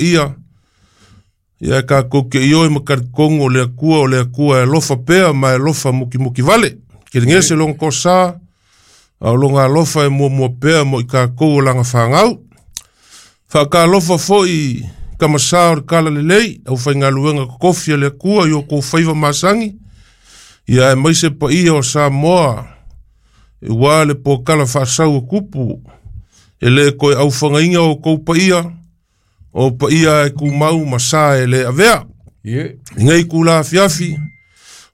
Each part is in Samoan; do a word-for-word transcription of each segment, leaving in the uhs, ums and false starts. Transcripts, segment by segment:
Ia ia kākou ke ioi ma kalikongo o le Atua o le Atua e alofa pea ma e alofa mukimuki vale. Kelegese lona toasā a o lona alofa e muamua pea mo i kākou o laga fagau. Faakalofa foʻi kamasā o le talalelei aufaigaluega totofi a le Atua i o kou faiva masagi ia aemaise paia o Samoa ua le pokala faasau o tupu e lē toe aufagaina o kou paia o paia e tumau ma sa e lē avea. Ie. I nei tula afiafi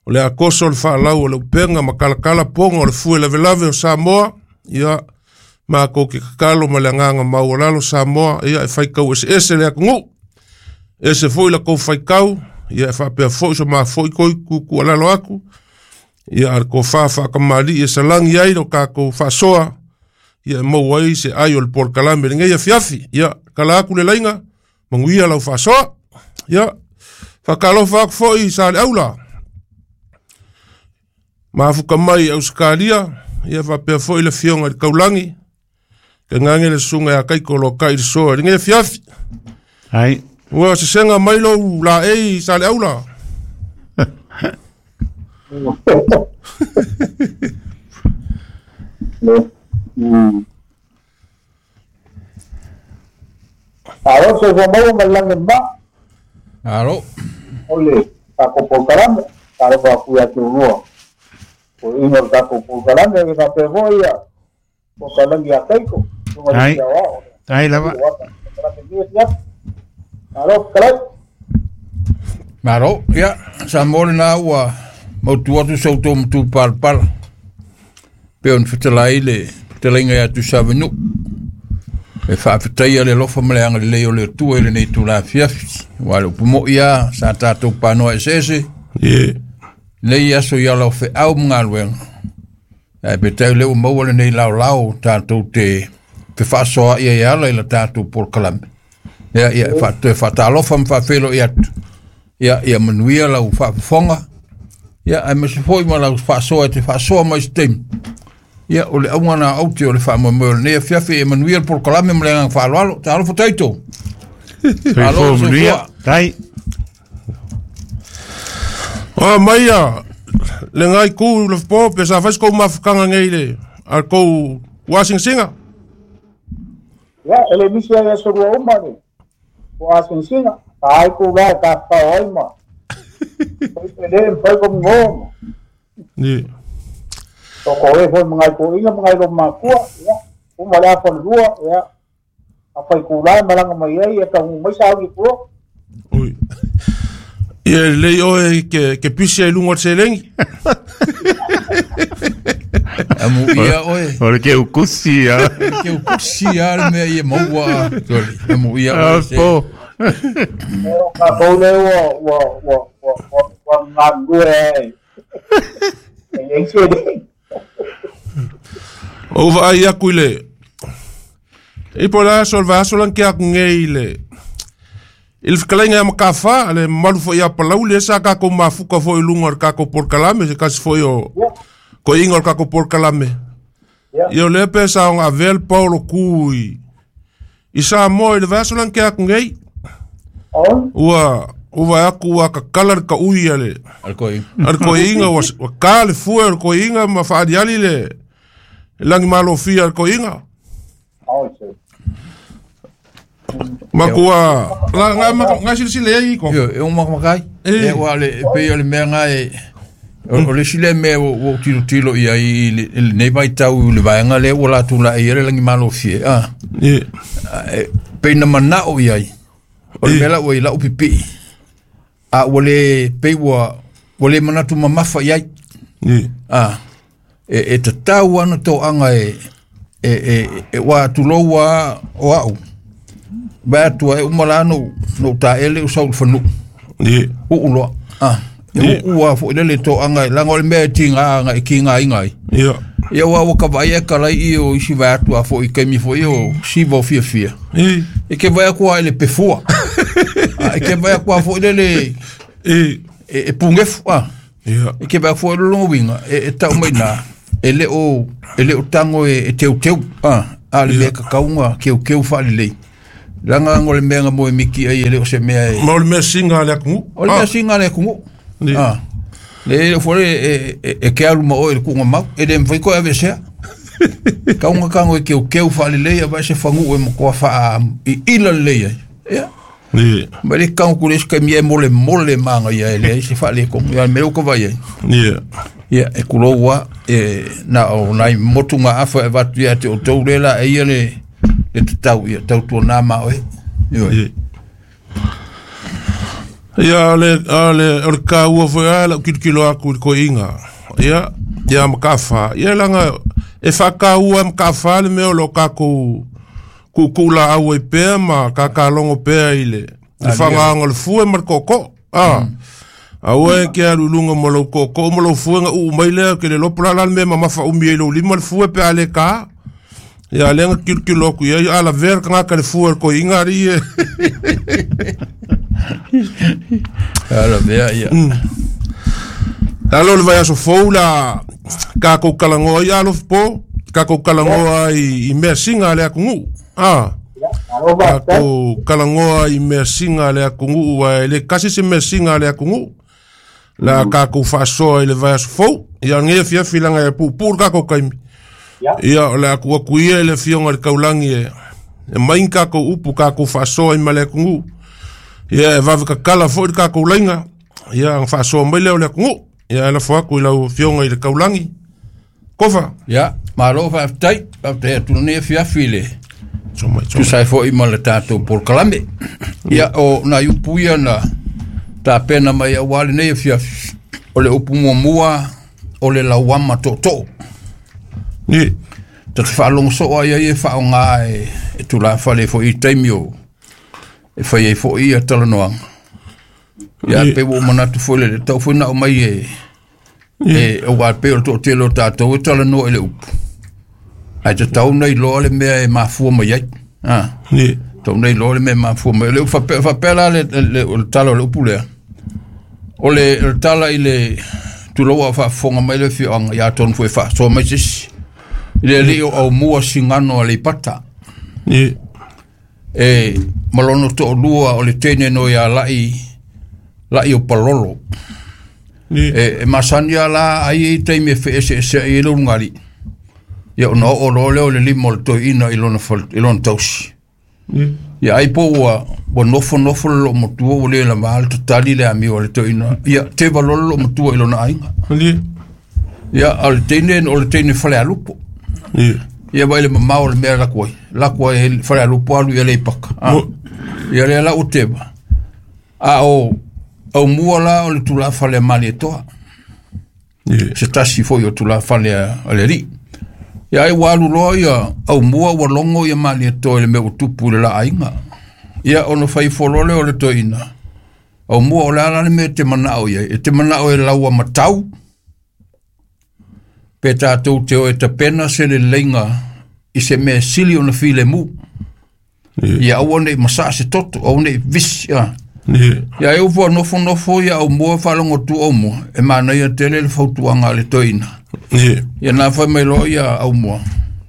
o le akoso o le faalau o le upega ma kalakala poga o le fue lavelave o Samoa ia makou ke tatalo ma le agaga maualalo Samoa ia e faitau eseese le atunuu ese foʻi latou faitau ia e faapea foʻi so mafoʻi toi tutualalo atu ia a le tofā faatamalii e salagi ai lo tatou faasoa ia e maua ai se ai o le polokalame lenei afiafi ia kala atu le laiga manuia lau faasoa ia faakalofa atu foʻi sa le aula mafuka mai Ausekalia ia faapea foʻi le afioga i le taulagi kegage le susuga ia Kaiko lokai le soa i lenei afiafi. Ai. Ua sesega mai lou laei sa le aula. Alo, se fua maua ma le lagi ma. Alo. O le tatou polokalame, talofa atu ia te ulua. O iga o le tatou polokalame, e faapea foi ia polokalame ia Kaiko, susuga i le Ai. Fiaoao. Ai lava. Polokalame ia fiafi. Alo, fetalai. Malo, ia, sa mo lena ua mautu atu sa outou matu palapala. Pe ona fetalai le fetalaiga ia Tuisavenu. E faafetaia le alofa ma le agalelei o le Atua i lenei itula afiafi. Aua o le upu moʻi lava sa tatou panoa eseese Ie. lenei aso i ala o feau ma galuega. Ae peitai o lea ua maua lenei laolao tatou te fefaasoaai ai e ala i la tatou polokalame. Ia, ia, e faatoe faatalofa ma faafeiloai atu. Ia, ia manuia lau faafofoga. Ia, aemaise foi ma lau faasoa e te faasoa mai se taimi. Ia, o le auga na aute o le faamoemoe o lenei afiafi e manuia le polokalame ma le agaga faaaloalo. Talofa taito. Soifua Alo, manuia. soifua. Tai. O mai ia le ngai ku le po pe sa fai se kou mafutaga nei le a kou uasingasinga. Ia, e le misi ai aso lua uma le o asingasinga. Ka ai ku la ka tafafao ai ma. Fai pele mafai ko mgoa ma. Ie. Toko e foi ma ngai toʻiga ma ngai lomakua, ia, uma le afa lua, ia, afai kula e malaga mai ai, ia taunuu mai sauni i tua. Ui. Ia lelei oe ke ke pisi ai luga o le seleni. Amuia oe. O le keukusi a. Keukusi a le mea ia maua. Soli. Amuia oe se. Apo. O tatou lea ua, ua, ua, ua, ua, ua galulue ai. E leai seleni. Ou vaai atu i le i po o le aso o le vaiaso lana ke atu nei i le i le fetalaiga ia Matafā le mamalu foʻi ia Palauli e sa tatou mafuta foʻi i luga o le tatou polokalame se tasi foʻi o Ia, koiga o le tatou polokalame ia. ia o lea pe sa ona avea le paolo ku i i Samoa i le vaiaso lana ke atu nei Oi, ua ua vaai atu ua kakala le kaʻui a le Al koi. a le koiga ua ua kā le fue o le koiga ma faaliali le lagi malofia a le koiga oi se. makua la nga ma nga silasila ai ko Io, e o makamakai. Eh. E ua le, e pei o le mea nga e, o, o le isi lea mea ua ua ou tilotilo i ai i le, i lenei vaitau i le vaega lea ua latou laei ai le lagi malofie. Ah, Ie. e, pei na manao i ai. O le Eh. mea la ua i lau pipii. A ua le, pei ua, ua le manatu mamafa i ai. Ie. Ah, e, e tatau ana toaga e, e, e, e ua tulou a o au. Vai atua e uma la no, no taele o sau i le fanuu. Ie. Uu loa. Ah, e Ie. uu a foi lele toaga e laga o le mea e tiga aga e kiga aiga ai. Ia. Ia ua ua ka vaai e kalai i o isi vai atua foi i kaimi foi o siva o fiafia. Ie. E ke vai atua i le pefua. Ah, e ke vai atua foi lele Ie. e, e pungefu. Ah. Ia. E ke vai foi le longa winga e, e tau mai nā e le o e le o tango e, e teu teu ah a le mea kakaunga keu keu whaalelei. Langa ngo le mea mo e miki ai e le o se mea e Ma o le mea singa le akungu. O le mea singa le akungu. Ni. Ah. Le le fole e e e ke alu ma o e le kuunga mau. E le mwhai koe avesea. Kaunga kango e keu keu wha le leia vai se whangu e mkoa wha i ila le leia. Ia. Ni. Ma le kango kule se kaimi e mole mole manga ia e le se wha le kongu. Ia me uka vai ai. Ni. Ia e kuloua e na o nai motu ngā afa e watu ia te o tau lela e ia le le te tau ia tau tua nā ma oe. Ioi. Ni. Ia le le o le ka ua foi a la kilokilo aku i le koiga. Ia ia ma kafa. Ia langa e whakaua ma kafa le mea o lo kākou kuku la au e pea ma kakalongo pea i le le whangaanga le fue ma le koko. Ah. Aua e ke alu lunga mo lau koko mo lau fue nga uu mai lea ke le lopo la la le mea ma mafa umi e lau lima le fue pe a le ka. Ia lenga kilokilo aku ia ia ala vera ka ngaka le fue le koiga ari e. Ala mea ia. Alo le vai aso fou la kākou kalangoa i alofa po, kākou kalangoa i, i mea singa le akungu. Ah. Alo ba Kākou kalangoa i mea singa le akungu, ua e le kasi se mea singa le akungu. La kākou whaasoa i le vai aso fou. Ia ngea fia filanga e pūpū le kākou kaimi. Ia. Ia o le aku aku ia i le fionga le kaulangi e. E main kākou upu kākou whaasoa i ma le akungu. Ia e wawe kakala fo i le kākou lainga. Ia ang whaasoa mai leo le akungu. Ia e la fo aku i lau fionga i le kaulangi. Kofa. Ia, malo whaaftai, whaaftai atu nei fiafi le. So mai, so mai. Tusai foi ma le tātou polokalame. Ia, o nā upu ia na tā pena mai au wale nei fiafi. O le upu muamua, o le lauama tōtō. Ni. Ta te whaalongo soa ia ia whaonga e, e tūla whale fo i taimi o. E whai e fo i a talanoanga. Ia Ni. pe wo manatu fo le tau fo na o mai e e o wa pe o tō telo tātou e talanoa i le upu. Ai te tau nei loa le mea e mafua mai ai. Ah. Ni. Tau nei loa le mea e mafua mai. Le whape, whape la le, le, o le tala o le upu lea. O le, o le tala i le tuloa whaafonga mai le whioanga ia tonu fo e whaasoa mai sisi. I le li o au mua singano a le pata. Ni. E malono to lua o le tene no ia lai lai o palolo. Ni. E, e masani la ai e taimi e whaese ese ai e lo ngari. Ia ona o lo leo le lima o le toeina i lona, fal- i lona tausi. Ni. Ia ai po ua, ua nofo nofo le loo matua ua le la maale tatali le amio o le toeina. Ia te valolo loo matua i lona ainga. Ni. Ia o le teine, o le teine fale alupo. Ni. Ia vai le mamao o le mea laku ai. Laku ai e fale alupo alu ia le ipaka. Ah. Mo- Ia le la o teba. A o, au mua la o le tula fale a mali e toa. Ni. Se tasi foi o tula fale a, a le ri. Ia ai walu loa ia, au mua ua longo ia mali e toa i le mea ua tupu i le la ainga. Ia ono whai folole o le toina. Au mua o le ala le mea te manao ia. E te manao e laua matau. Pe tātou te o e tapena se le leinga i se mea sili ona file mu. Ni. Ia aua nei masaa se toto, aua nei visi. Ia. Ni. Ia e ufua nofo nofo ia au mua whalongo tu au mua. E mana ia tele le fautuanga le toina. Ni. Ia nā whai mai loa ia au mua.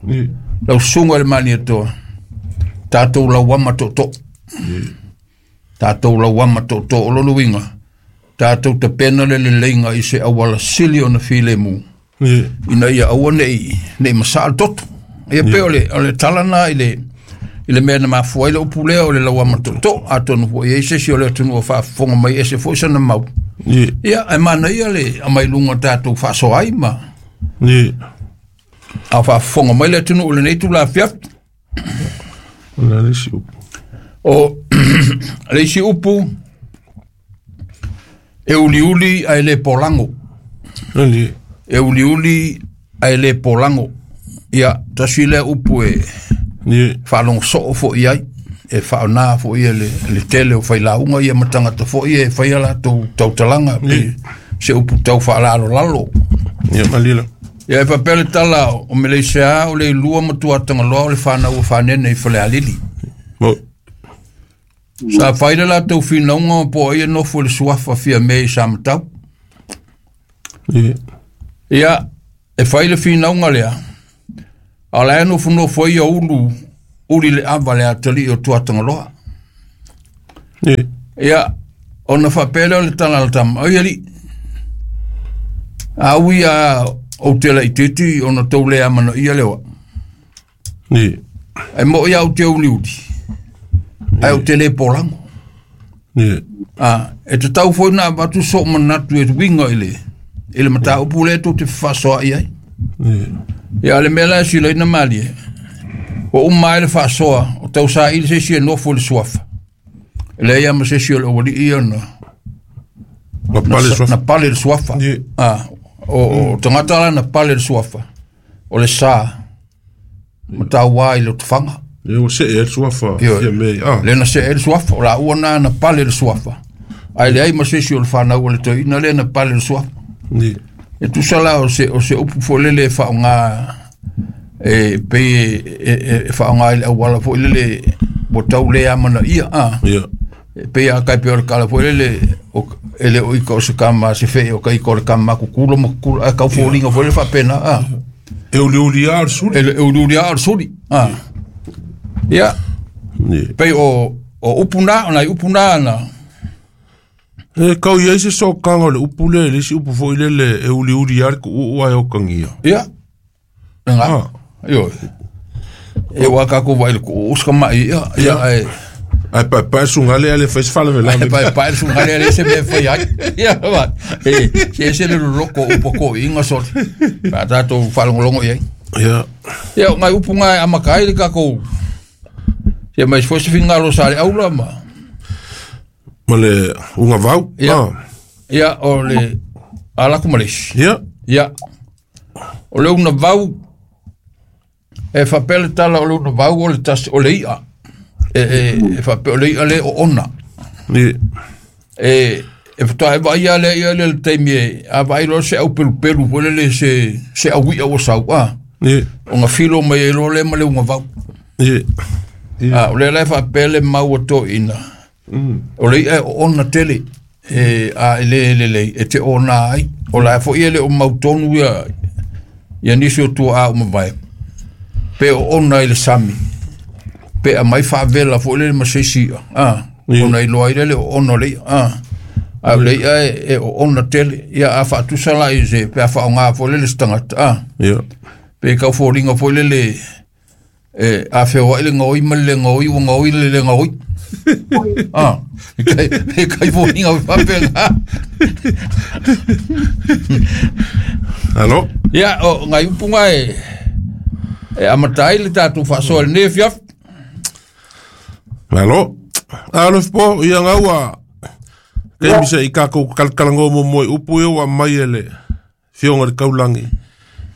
Ni. Lau sunga le mani e toa. Tātou lau ama tō. Tātou lau ama tō o lolo winga. Tātou te pena le le leinga i se awala sili ona file mu. Ni. Ina ia aua nei, nei masaa le toto. Ia pe o le, o le talana i le, i le mea na mafua i le upu lea o le lau ama tō. Atonu fo i se si o le atunu o whaafonga mai e se fo i sana mau. Ni. Ia, e mana ia le amai lunga tātou whaasoa ai ma. Ni. A whaafonga mai le atunu o le nei tū la fiafi. O le isi upu. O le isi upu e uliuli a e le polango. Ni. E uliuli a e le polango. Ia, tasi lea upu e Ni. whaalongo soo fo i ai. E whaonā fo i le, le tele o whailaunga ia matangata fo i e whaia la tau, tautalanga. Ni. Se upu tau whaalalo lalo. Ia malila. Ia e papele tala o meleisea o le lua matua tangaloa o le whanau o whanene i whale alili. Mo. Sa whaile la tau whinaunga o po ia nofo le suafa fia me i sa matau. Ni. Ia, e whaile whinaunga lea. A la nofo nofo ia ulu uli le ava le atali o tuatangaloa. Ni. Ia ona faapea lea o le tala a le tama, oi alii, a ui a ou te laitiiti ona tou le amanaia le oa. Ni. Ai mo ia ou te uliuli, ai ou te le polago. Ni. A, e te tau foi na avatu sou manatu e uiga i le, i le mataupu lea tou te fefaasoa'i ai. Ni. Ia le mea la e silaina malie, ua uma ai le faasoa o tausaili se isi e nofo i le suafa. E leai lava ma se isi o le aualii ia na Na pale na, suafa. na pale le suafa. Ni. Ah, o, o tagata la na pale le suafa, o le sa ma tauā i le otafaga. Ia ua see ai le suafa. Ioe. Ia mea ah. Le na see ai le suafa, o laua na na pale le suafa. Ae leai ma se isi o le fanau a le toeaina lea na pale le suafa. Ni. E tusa la o se, o se upu foi lele e faaaoga e pei e, e, e, e faaaoga i le auala foi lele ua tau le amanaia a. Ia. E pei a kai pe o le kala foi lele o, e le o ika o se kama se fee o ka ika o le kama kukula ma kukula a kau foliga foi lele faapena a. E uliuli lava o le suli. E le uliuli lava o le suli a. Ia Ni. pei o, o upu na, o nai upu na na. E kau i ai se sokaga o le upu lea i le isi upu foi lele e uliuli lava le ku'u'u ae okagia. Ia, le ga. Ah. Ioe. E ua kākou vaai i le ku'u'u sakama'i ia, ia ae Ae paepae suga lea le fai se Ae faalavelave. paepae le suga lea le se mea e fai ai. Ia ma, e se ese le loloko o upu a toeaiga sole, pe a tatou faalogologo i ai. Ia. Ia o nai upu ga e amata ai le tatou se mai se foi se finagalo sa le aula ma. Ma le ugavau. Ia. Ah. Ia o le alaku ma le isi. Ia. Ia o le unavau e faapea le tala o le unavau o le tasi o le i'a. E, e, e faapea o le i'a le oona. Ni. E, e faatoa e vaaia lea ia le le taimi e a vaai loa se au pelupelu foi lele se, se aui'a ua sau a. Ni. Ona filo mai ai loa lea ma le ugavau. Ni. A, o lea la e faapea le mau a toeaiina. O le i'a e oona tele e, a e lē lelei e te ona ai. O la foi e le o mautonu ia, ia nisi o tua'a umavae. Pe oona i le sami. Pe aumai faavela foi lele ma se isi i'a. A, Ia. ona iloa ai lea le oona o le i'a. A, a o le i'a e, e oona tele. Ia a faatusa la i se pe a faaaoga foi lele se tagata. A, Ia. pe kau foliga foi lele e a feoa'i le gaoi ma le lē gaoi ua gaoi le lē gaoi. A, e kai, e kai foliga faapega. Alo. Ia o nai upuga e e amata ai le tatou faasoa i lenei afiafi. Alo. Alo po ia gaua. Taimi se i kākou kalakalago momoe upu ia ua mai e le fioga i le kaulagi.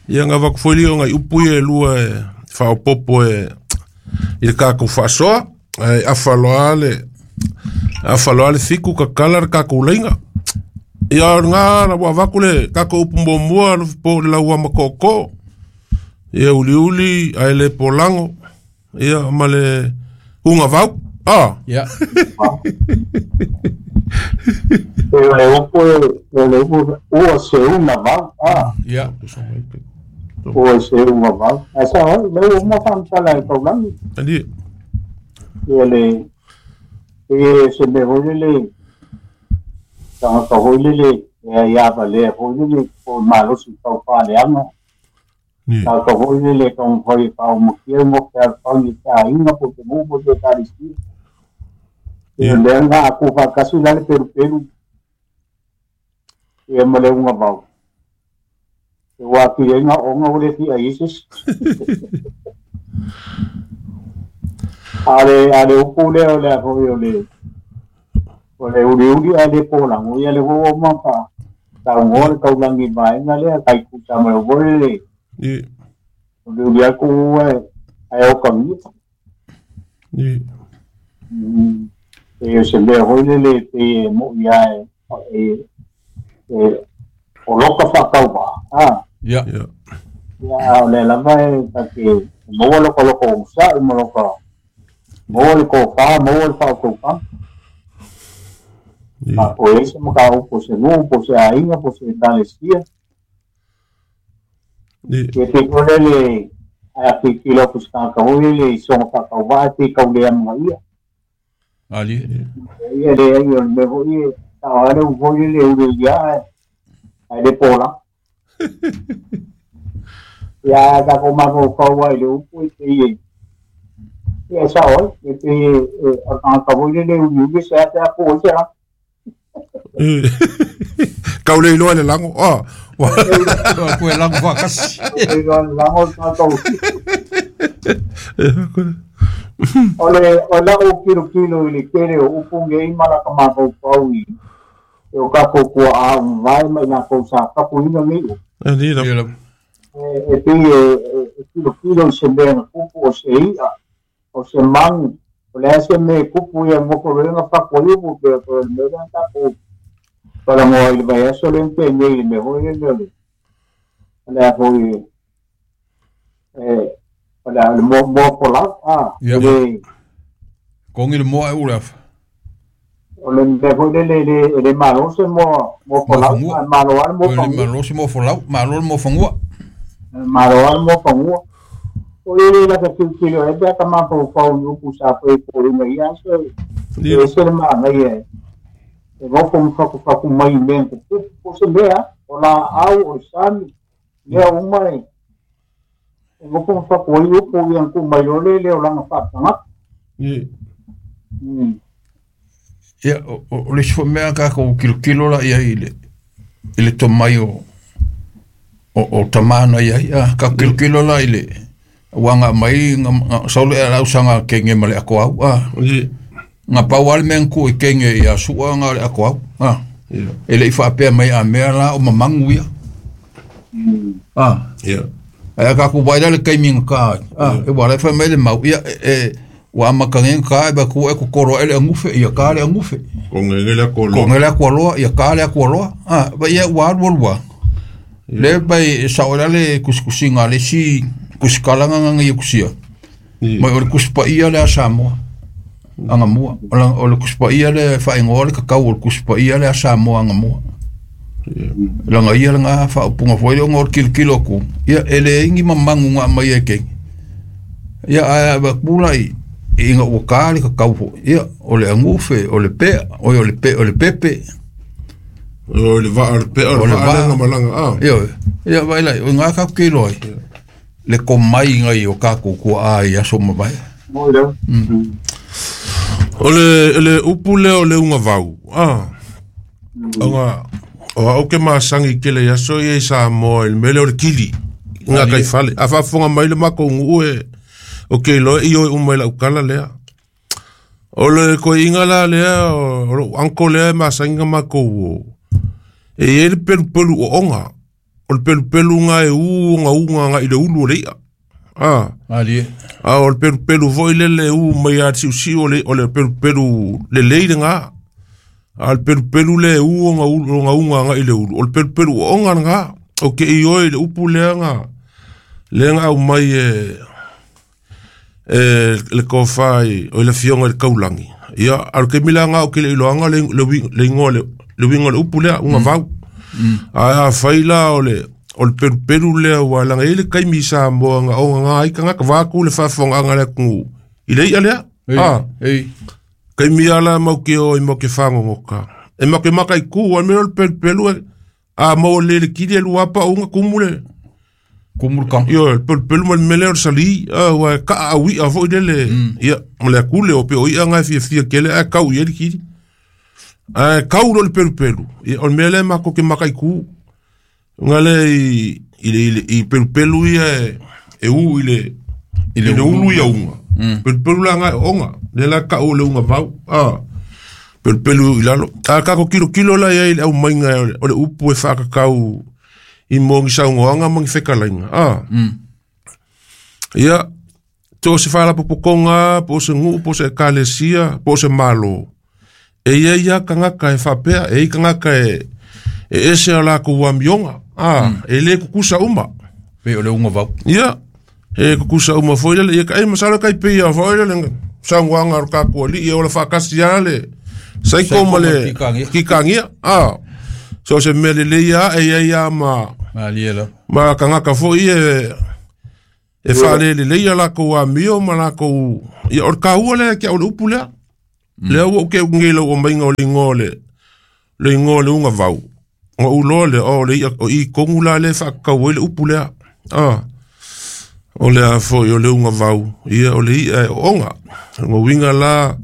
Ia gavaku foi lia o ngai upu ia e lua e faaopopo e i le kākou faasoa. Ae afaloa le afaloa le fiku kakala le kākou laiga. Ia o lagā na ua avaku le kākou upu muamua alofi po o le lauama kookoo. Ia uliuli ae le polago. Ia ma le ugavau. Ah. Ia. E o le upu e, o le upu ua se una vau. Ah, Ia. ua se una vau. Ae sa oi, le ua uma faamatala e taulagi. Ali. Ia le, e se mea foi lele, tagata foi lele, e ai avalea foi lele, po o le malosi taufaaleaga. Ni. Tagata foi lele e taumafai e faaomakia mo ke alofagi i te aiga po o te nuu po o te ekalesia. Ia Ia. lea na aku faatasi la le pelupelu ia ma le ugavau. E ua atili ai gaoga ua le fia ai se isi. A le, a le upu lea o le a foi o le, o le uliuli ae le polago, ia le ua uma faa saugoa le taulagi i le vaega lea, kai tusa ma le foi le Ni. uliuli atu ae, ae okagia. Ni. Mm. E o se mea foi lele pei e mo'i lava e, e, e o loka faatauvaa. Ah, Ia. Ia. ia a o lea lava e ta te maua loka loko usa'i ma loka maua le tofā, maua le faautautaga. Ni. Faafoe ai se mataupu po o se nuu, po o se aiga, po o se ekalesia. Ni. Ia pei foi lele Ai ki ki lo kuska ka hoi le so ka ka wa ti ka le am ia. Ali. Ia le ia me hoi ta ale u hoi le u ia ai le pola. Ia ka ko ma ko ka wa le u pui te ia sa oi e te a ka hoi le u u se ta ko se la. Kau le iloa le lango. Ah. Ko e lango whakasi. Lango tātou. O le o la o kilo kilo i le kere o upunge i mala ka mātou pau i. E o kako kua a vai mai nā kou sa kapu ina nei o. E ni la. E pi e kilo kilo i se mea nga kupu o se ia, o se mangu. O le ase me kupu ia moko renga whakwa iupu pe o le mea tākou. Para mo il vai aso le te nei me hoi le le. Le hoi eh ola le mo mo pola ah le con il mo e ulaf. O le me hoi le le le malo se mo mo pola malo al mo le malo se mo folau malo mo fangua. Malo al mo fangua. O le la ka ki le e ka ma po pa u ku sa pe po le ia so. E se ma ngai e. E vou como facu facu mai bem po se lea o la au o sami lea uma e vou como facu ai o po ian ku mai ole le o la fa tanga ni ia o le fo mea ka ko kilo kilo la ia ile ile to mai o o tamana ia ia ka kilo kilo la ile wanga mai saule ala usanga kenge male ako au a nga pau ale men ku i kenge ia sua nga le ako au a e le ifa pea mai a mea la o mamangu ia a ia ai ka ku vai le kaimi ka a e wala fa mai le mau ia e wa makangen ka e ba ku e ku koro ele ngufe ia ka le ngufe ko ngele ko lo ko ngele ko lo ia ka le ko lo a ba ia wa wa wa le bai sa ora le kuskusinga le si kuskalanga nga ia kusia mai o le kuspa ia le Samoa anga mua o le kuspa ia le whaingoa le kakau o le kuspa ia le Samoa anga mua langa ia nga whaupunga fwoi o ngor kilo kilo ku ia ele ingi mamangu ngā mai e kengi ia aia wakula i inga ua le kakau fo ia o le angufe o le pea o le pe o le pepe o le va o le pea o le va malanga ah ia ia vai lai o ngā kau kilo ai le komai ngai o kako kua ai aso mawai mo leo o le le upu le o le unga vau ah anga o au ke masangi kele aso ia Samoa il mele o le kili nga kai fale a fa fonga mai le mako ngu e o ke lo i o mai la ukala lea o le ko inga la lea o lo anko lea masangi mako e ele pelu pelu o onga o le pelu pelu nga e u nga u nga i le ulu o le ia ah ali a o le pelu pelu foi le le u mai a siu o le o le pelu pelu le le nga a le pelu pelu le u nga u nga u nga i le ulu o le pelu pelu o nga nga o ke i oi le upu le nga le nga au mai e e le kofai o le fionga le kaulangi ia al ke mila nga o ke le iloanga le le le ingo le le wingo le upu le unga vau a faila o le o le pelu pelu le wa langa ile kai mi Samoa nga o nga ai ka nga va ku le fa fonga nga le ku ile ia le ah ei kai mi ala mau ke o i mau ke fango ngoka e mau ke makai ku o me le pelu pelu a mo le le kili lu apa unga kumule kumul ka yo pelu pelu mal mele o sali a wa ka a wi a fo ile le ia mo le ku le o pe o ia nga fi fi ke le a kau ia le kili a kau lo le pelu pelu o mele ma ko ke makai ku ngale i ile i pelu pelu ia e u ile ile ulu ia unga pelu pelu la nga onga le la ka o le unga vau ah pelu pelu ilalo a ka ko kilo kilo la ia ile au mainga o le upu e fa ka kau i mongi sa unga mongi fekalainga ah ia to se fala popokonga po se ngu po se kalesia po se malo e ia ia kangaka e fapea e kangaka e e ese ala ko wamionga ah e le kukusa uma pe o le unga vau ia e kukusa uma foi le ia kai masala kai pe ia foi le sanguanga ka ko li ia o le fakasi ale sai ko male kikangia ah so se mele le ia e ia ia ma aliela ma kangaka foi e E faalelelei ia lakou amio ma lakou ia o le kāua lea ke au le upu lea. Lea ua ou ke ugei lau omaiga o le igoa o le le igoa o le ugavau. Ona ou iloa lea o le i'a o i kogu la lea e faatatau ai le upu lea. A o le a foi o le ugavau ia o le i'a e ooga. O lona uiga la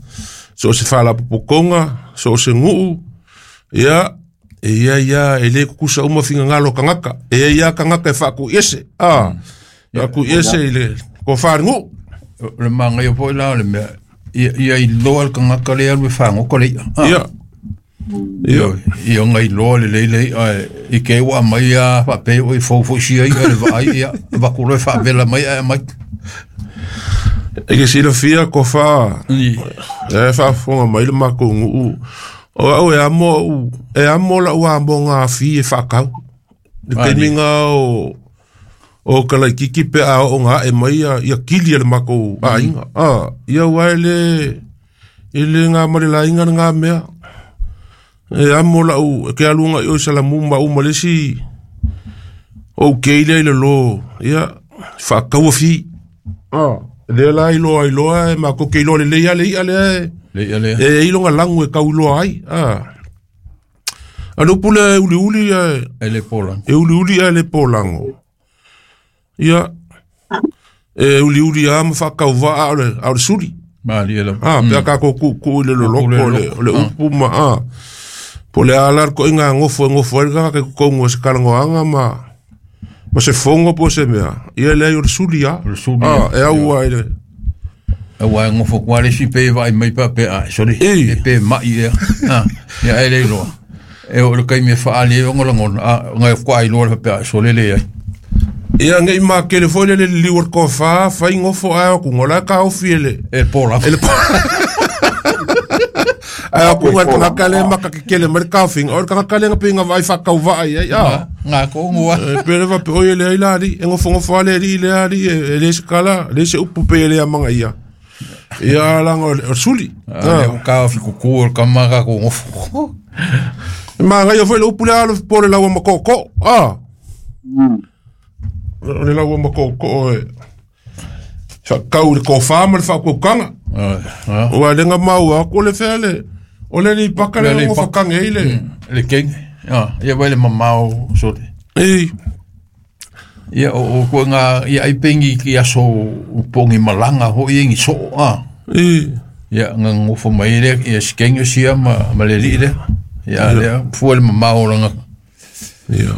so o se faalapopotoga, so o se nuu, ia e ia ia e lē tutusa uma finagalo o tagata. E ia ia tagata e faakuiese a faakuiese i le tofa le nuu. O le magaia foi la o le mea ia ia iloa le tagata lea alu e fagota le i'a. Ia ia Ia ona iloa lelei le i'a i ke ua aumai a faapea oi fou foi sia i'a le vaai ia avatu loa e faavela mai ae aumai. E ke silafia tofa e faafofoga mai le matou nuu. O au e amo au e amo la'u amoga afi e faatau. Le taimiga o o kalaititi pe a oo ga ae mai ia ia kili a le matou aiga. A ia ua e lē e lē ga ma le laiga lagā mea. E amo la'u e ke alu agai oe Salamu ma au ma le isi ou kei lea i lalo ia faatau afi. A lea la iloa ai loa e matou te iloa lelei a le i'a lea e Le i'a lea. e ai lona lagu e tau iloa ai. A a le upu lea e uliuli ae E le polago. e uliuli ae le polago. Ia e uliuli a ma faatauvaa a o le a o le suli. Malie lava. A pe a tatou tuutuu i le loloto o le o le upu ma a po o le a la le toaiga gofo e gofo ai le tagata i totonu o se talanoaga ma ma se fono po o se mea. Ia leai o le suli a. O le suli A a. e au ai le Aua e gofo atu lava le isi pe vaai mai faapea a sole Ei. e pe ma'i ea. A ia e le iloa. E oo i le taimi e faaali ai ona lagona a ona e faatoa iloa le faapea a sole leai. Ia nei makele foi le le liliu o le tofa fai gofo ae o atuga o la e taofi e le E polago. e le ae o atuga le tagata lea e makakekele mai le taofiga o le tagata lea na pei na vaai faatauvaa i ai a. Ga tonu a. E pe le faapea oi e leai la alii e gofogofo lava le alii lea alii e e le se kala le se upu pe e le amagaia. Ia laga o le o le suli. A lea ua taofi kuku o le tama tatou gofo. E magaia foi le upu lea alo po o le laua makookoo a. O le laua makookoo e faatau i le tofa ma le faautautaga. A Ua le ga maua atu o le fea le o le aleipaka Le lea Aleipaka. gofakage ai le le kenge. A ia vai le mamao sole. Ei Ia o o koe ngā ia ai pengi ki aso o pongi malaga ho'i e gi soo a. Ei Ia nga gofo mai lea ia sikenge sia ma ma le alii lea. Ia lea fua le mamao o laga. Ia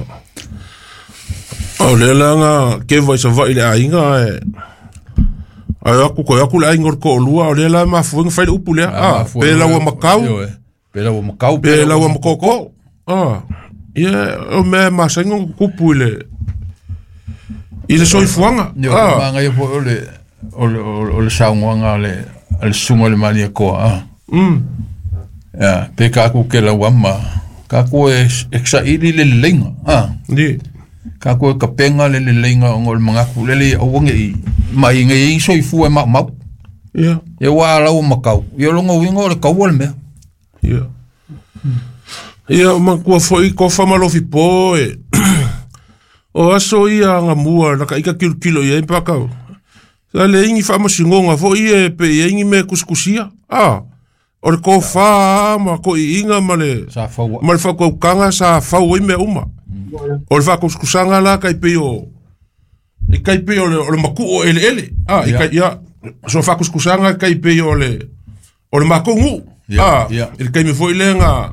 o lea la ga keva i savaʻi le aiga ae ae aku koe aku le aiga o le toalua o lea la e mafuega fai le upu lea a pe laua makau Ioe. Pe laua makau pe laua makookoo a ia o mea e masani ona tutupu i le i le soifuaga Ioe, a magaia foi o le o le o le saunoaga a le a le susuga i le Malietoa a. mm Ia, pe kakou ke lauama kakou e e saili le leleiga a. Ni Kakou e kapega le leleiga ona o le magatu lele ia aua nei mai nei ai soifua e maumau. Ia Ia ua laua makau ia o lona uiga o le kaua le mea. Ia ia o matua foi tofa ma lofipo e o aso ia agamua na kaika kilokilo i ai pakau sa leai ni faamasinoga foi e pe i ai ni mea kusikusia a o le tofā ma toʻiʻiga ma le Sa faua. ma le faataukaga sa fau ai mea uma. O le faakusikusaga la kai pei o i kai pei o le o le makuʻu o eleele a i Ia. kai ia so faakusikusaga kai pei o le o le makou nuu Ia, a ia. i le taimi foi lea ga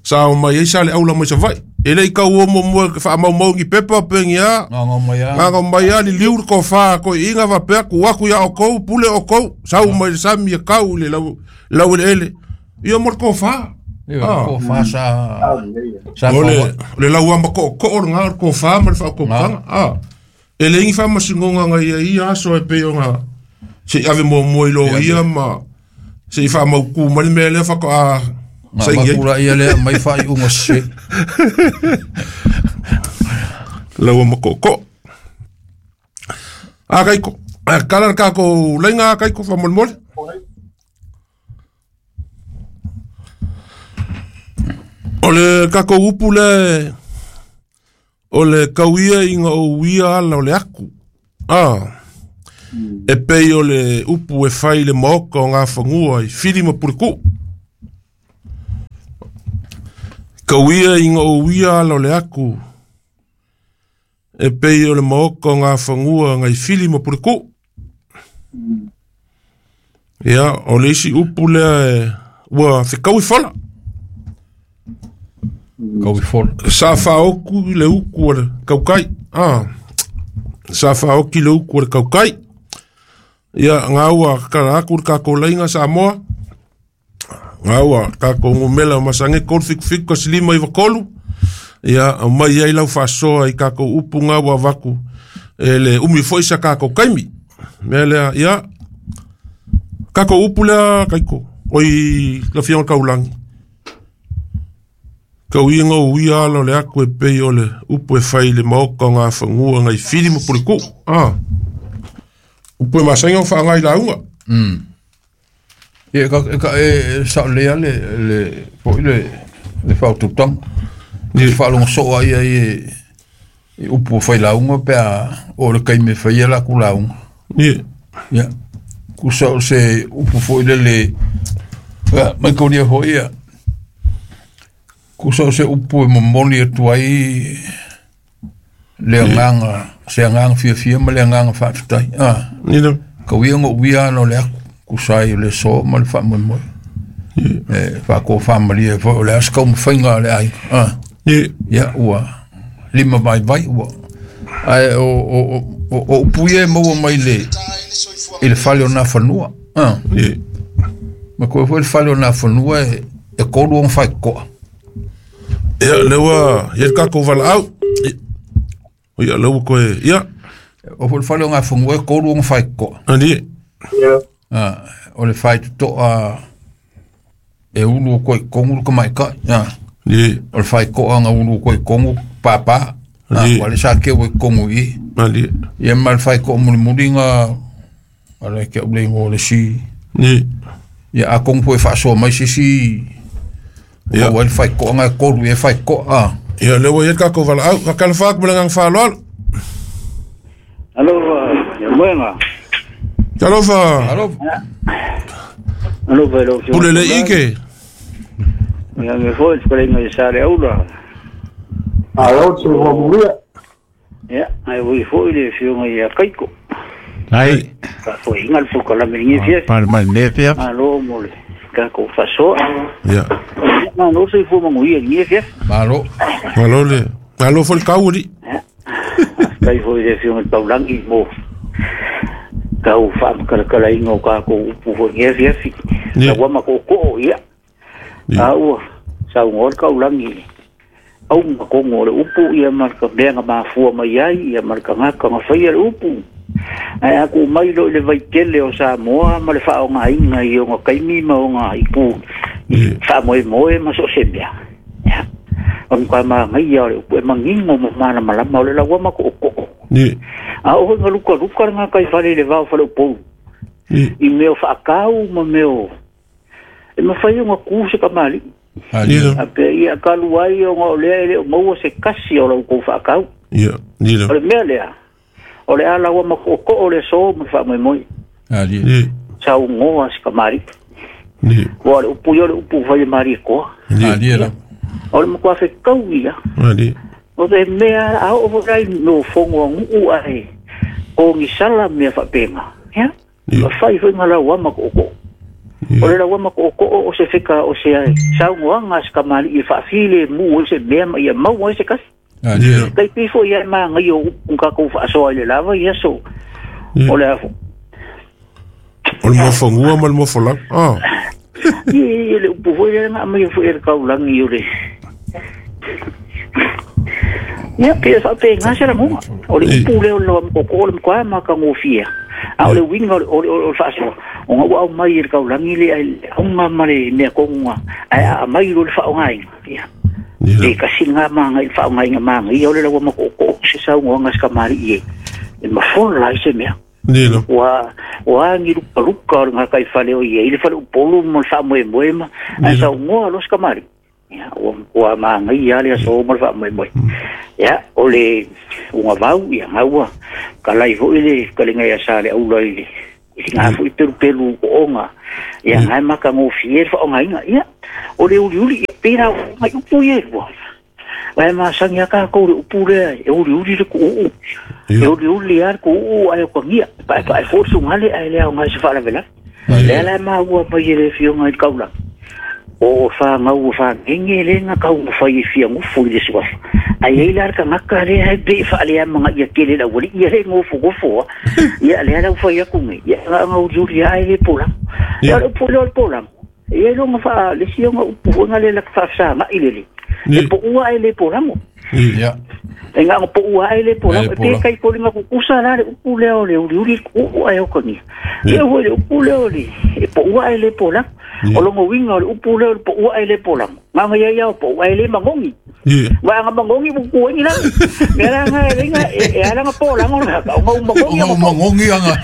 sa o mai ai sa le aula mai Savaʻi e leʻi tau o muamua faamaumau ni pepa pegi a Gaga mai a. gaga mai a liliu le tofā toʻiʻiga faapea ku aku iā oukou pule oukou sau mai le sami e kau i le lau lau eleele ia mo le tofā. Ioe, Ah. tofa sa sa O le faua. o le lauama koʻokoʻo lagā o le tofā ma le faautautaga a e leai ni faamasinoga agai ai ia aso e pei ona seʻi ave muamua i loia ma seʻi faamautū mai le mea lea faatoa Nga saini ai makula ia lea mai faaiuga sese. lauama koʻokoʻo a kaiko a kala le kakou laiga a kaiko faamolemole o le kakou upu le o le kauia ina ou ia ala o le aku a E pei o le upu e fai le maoka o ngā whangua i whiri ma puriku. Kauia i ngā uia ala o le aku. E pei o le maoka o ngā whangua ngai whiri ma puriku. Ia, o le isi upu lea e ua whikau i whala. Kau i whala. Sa whaoku i le uku o le kaukai. Ah. Sa whaoki le uku o le kaukai. Ia, ngā ua kara aku le kako leinga Samoa. Ngā ua kako ngumela o masange kolu fiku fiku ka silima i wakolu. Ia, au mai ai lau whasoa i kako upu ngā ua waku. E le umi foi sa kako kaimi. Mea lea, ia, kako upu lea kaiko. Oi, la fionga kaulangi. Kau inga uia ala o le aku e pei o le upu e fai le maoka o ngā whangua ngai whiri ma puriku. Ah. Upu e masainga o whaangai launga. Mm. Ia, ka, ka, e, sa lea le, le, foi le, le whaututanga. Ye. Le whaalonga soa ia i, i upu o whai launga, pea o le kaime whai la ku launga. Ye. Ia. Kusa o se upu foi le le, ia, mai kaunia hoi ia. Kusa o se upu e momoli atu ai le anganga, se anganga fiafia ma le anganga whaafetai. Ah. Nina. Ka uia ngo uia ano le aku, kusai o le so ma le whaamoemoe. Ye. E, whaako whaamalia foi o le askau mawhainga le ai. Ah. Ye. Ia, ua lima vai vai ua. Ai, o, o, o, o upu ia e maua mai le, i le fale o nā whanua. Ah. Ye. Ma koe foi le fale o nā whanua e, e kolu o whai koa. Ia, lewa, ia le kako wala au. Ia, lewa koe, ia. O foi le fale o ngā whanua e kolu o whai koa. Ani. Ia. Ah, o le whai tutoa e ulu o koe kongu ka mai kai. Ah. Ye. O le whai koa ngā ulu o koe kongu, pāpā. Ah, Ye. wa le sa keo e kongu i. Ani. Ia ma le whai koa muli muli ngā, ala ke ule ngō le si. Ye. Ia a kongu po e whaasoa mai sisi. Ia. O le whai koa ngā kolu e whai koa. Ah. Ia, lewa ia le kako wala au. Kakala whaak mo le ngang whaaloalo. Alo, ia moenga. Talofa. Alo. Alo, vai lau Pule le ike. Ia me foi, te i sa le aula. Alo, te hoa muia. Ia, ai ui foi le fionga ia kaiko. Ai. Ka foi inga le pukalame ngi fia. Pa mai ne fia. Alo mo le kako fasoa. Ia. Ma no se fo mangu ia ngi fia. Malo. Malo le. Malo fo le kauri. Kai foi le fionga taulangi mo. Kau whaam kalakala ingo ka ko upu fo ngi fia fi. Ia. Ka wama ko ko ia. Ia. A ua sa ngor kaulangi. Au makongo le upu ia marka mea mafua mai ai ia marka ngaka ngawhai le upu. Ai aku mai lo le vaitele o Samoa ma le whaonga inga i o ngā kaimi ma o ngā ipu Ye. wha moe moe ma so se mea. Ia. O mga maa ngai ia o le upu e mangingo mo mana malama o le laua mako o koko. Ye. A oho ngā luka luka ngā kai whare le wao whare upou. Ye. I meo whaakau ma meo. E mawhai o ngā kuse ka mali. Ali. Nina. A pe ia kalu ai o ngā olea ele o maua se kasi o lau kou whaakau. Ia. Nina. O le mea lea. O le ala ua makoko o le so ma wha moi. Ali. Ye. Sa ungoa si kamari. Ye. Ua le upu ia le upu whai mari koa. Ye. Ali la. O le makua fe kau ia. Ali. O te mea a o rai no fongo nguu ai. O ngisala mea whapenga. Ya? Ye. O whai whai ngā lau makoko. O le lau makoko o se wheka o se ai. Sa ungoa ngā si kamari i whaafile mu o se mea ma ia mau o se kasi. Ali. Ye. Kai pifo ia ma ngai o upu ngā whaasoa i le lava ia so. Ye. O le afo. O le mofongua ma le mofolau. Ah. Ia le upu foi le ngā mai foi le kaulangi o le. Ia pe sa pe ngā se la munga. O le upu le o le mokoko o le mkoa ma ka ngofia. A o le winga o le o le o le whaasoa. O ngā wau mai le kaulangi le ai au ngā mare mea konga. Ai a mai lo le whaongainga. Ia. Nina. E kasi ngā manga i whaongainga manga. Ia o le lawa mokoko se sau ngā ngā skamari i e. E mafola lai se mea. Nina. Ua ua ngi luka luka o ngā kai whale o ia. I le whale upolu mo le wha moe moe ma. Ai Nina. sau ngoa los kamari. Ia ua ua magai ale aso ma le faamoemoe. Ia o le ugavau ia gaua kalai foi le fetalaiga ia Saleaula i le i liga foi pelupelu ooga ia gae matagofie le faaaogaina. Ia o le uliuli ia pei la mai upu ia e lua ae masani a tatou le upu lea e uliuli le kuuu e uliuli a le kuuu ae okagia paepae foi le sugale ae le aoga i se faalavelave. Lea la e maua mai e le afioga i le taulaga o fagau o fagege le na taumafai e fiagofu i le suafa ai ai la le tagata lea e pei e faaleamagaia tele le aualii ia le gofogofoa ia lea la ua fai atu nei ia ga uliuli a e le polago. Ia o le upu lea o le polago ia iloga faa le isi ona upu foi na le laka faafesaga'i lele e poua ae le polago. Ia e gaga poua ae le polago e pe kai foliga kukusa la le upu lea o le uliuli ku'u ae okagia. Ia foi le upu lea o le e poua ae le polago o logo uiga o le upu lea o le poua ae le polago gaga ia ia o poua ae le magogi vaega magogi pupueni la mea la nga e lenga e ala nga polago la ka o magogi o magogi anga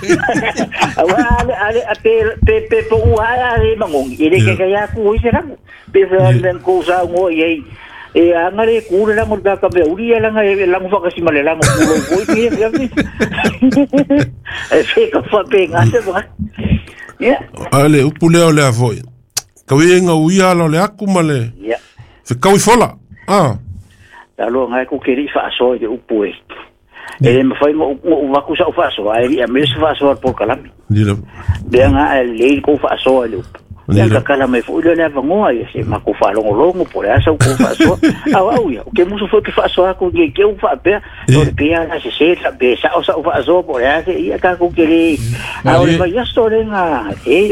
aua ale ale a pe pe pe poua ae le magogi e le ke ka ia ku i se rango pe fa le ko sa ngo i e anga le ku le lango ka ka me uri langa e lango fa ka sima le lango ku lo ko i e e fe ka fa pe nga se ba ia ale upu lea o lea foi kauiga uia ala o le aku ma le ia fekaui fola ah talo ngai ku ke ri faasoa i le upu e e le mafai ngo'u vaku sa'u faasoa ae li'a me se faasoa le polokalame lea ga ae lelei kou faasoa i le upu ia kakala mai foi lea le avanoa ia se makou faalogologo po o le a sau kou faasoa auau ia o ke musu foi ke faasoa aku ke ke u faapea o le pea la sesē pe sa'o sa'u faasoa po o le a se ia takou ke lē a o le vaiaso lega e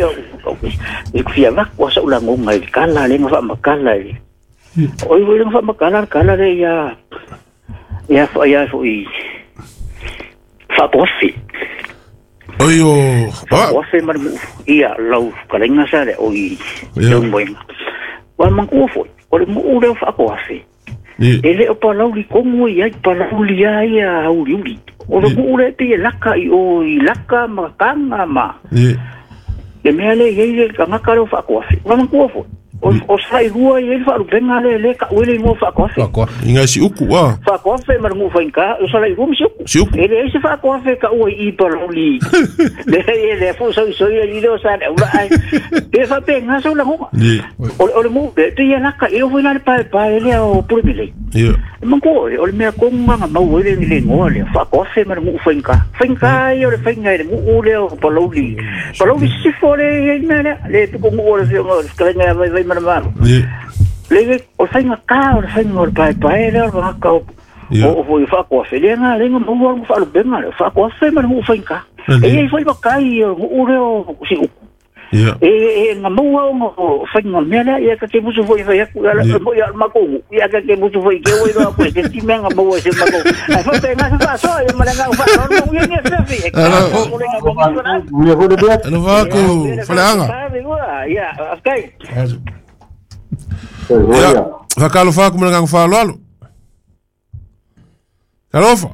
e kufia vaku a sa'u lagoga i le kala lega faamakala i le oi foi lega faamakala le kala le ia ia ia foi faapoafi Oi o faapoafe ma le mu'u ia lau fetalaiga sa le oi leumoega ua manatua foi o le mu'u lea o faapoafe e le o palauli kogu i ai palauli a ia auliuli o le mu'u lea pei e laka i o i laka ma kaga ma le mea lea i ai le tagata lea o faakoafe ua manatua foi o o salailua i ai le faalupega lea lea ka'u ai le igoa faakoafe i gai siuku a faakoafe ma le nu'u faigā o salailua ma siuku siuku e leai se faakoafe ka'u ai i palauli lea lea foi soisoi ali lea o sa le aula ae pe faapega sau lagoga o le mu'u lea pei e laka i foi la le paepae lea o pule melei e manatua o le mea kogu aga mau ai le le igoa lea faakoafe ma le nu'u faigā faigā ia o le faiga i le nu'u lea o palauli palauli sisifo le i ai le mea lea le tukunu'u o le fioga o le fetalaiga ia vaivai ma le malo le o le faiga kā o le faiga o le paepae lea o le tagata o o foi faakoafe lea ga lega maua le faalupega lea faakoafe ma le nu'u faigā e iai foi makai o le nu'u lea o siuku e e ga maua ona o faiga o le mea lea ia ka te musu foi fai atu ia le mo ia makou nu'u ia ka te musu foi ke oi loa koe se ti mea ga maua i se makou ae faapega se faasoa ia ma le agau faaaloalo ia ni afiafi e Alo vaku faleaga ia afkai ia fakalofa aku ma le agaga faaaloalo Kalofa